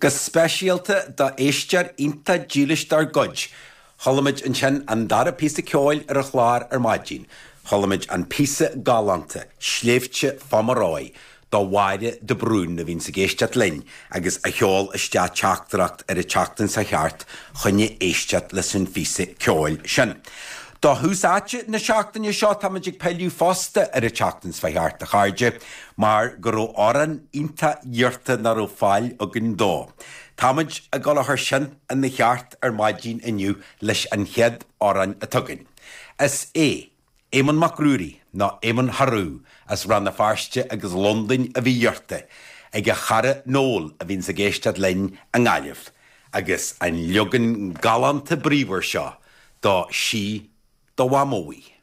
Go speisialta do éisteoir iontach dílis dár gcuid, chuala muid ansin an dara píosa ceoil ar an chlár ar maidin. Chuala muid an píosa galánta, Sléibhte Phomeroy, do Mháire de Brún a bhíonns ag éisteacht linn agus a sheol isteach teachtaireacht ar an tseachtain seo thart choinne éisteacht leis an phíosa ceoil sin. Do thús áite na seachtaine seo táimid ag pilleadh fosta ar an tseachtain seo thart, a chairde, mar go raibh amhrán iontach iarrta nach raibh fáil againn dó. Táimid ag dul a chur sin ina cheart ar maidin inniu leis an chéad amhrán atá againn. Is é Éamonn Mac Ruairí, nó Éamonn Harú, as Rann na Feirste agus Londain a bhí iarrta ag a chara Noel a bhíonns ag éisteacht linn i nGaillimh, agus an leagan galánta bríomhar seo do Sí do Mhamó í.